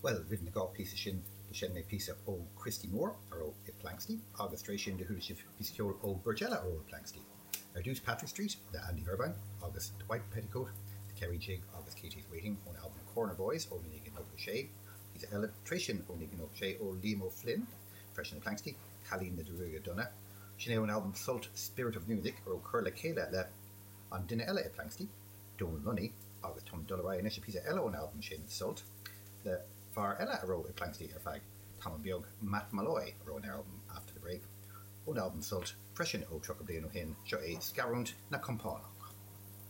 Bhuel, roimh na dá phíosa sin do sheinn mé píosa ó Christy Moore a raibh i Planxty agus tar éis sin do chuala sibh píosa ceoil ó bheirt eile a raibh i Planxty. Ar dtús Patrick Street le Andy Irvine agus The White Petticoat, The Kerry Jig agus Katie's Waiting ón albam Corner Boys ó 1996. Píosa eile tar éis sin ó 1996 ó Liam O'Flynn, freisin i Planxty, Cailín na Gruaige Donna. Sin é ón albam Sult Spirit of Music a raibh curtha le chéile le an duine eile i Planxty, Donal Lunny, agus táim ag dul ar aghaidh anois le píosa eile ón albam sin, Sult, le fear eile a raibh i Planxty ar feadh tamall beag, Matt Molloy, a raibh ar an albam After the Break. Ón albam Sult, freisin ó 30 bliain ó shin, seo é Scarúint na Compánach.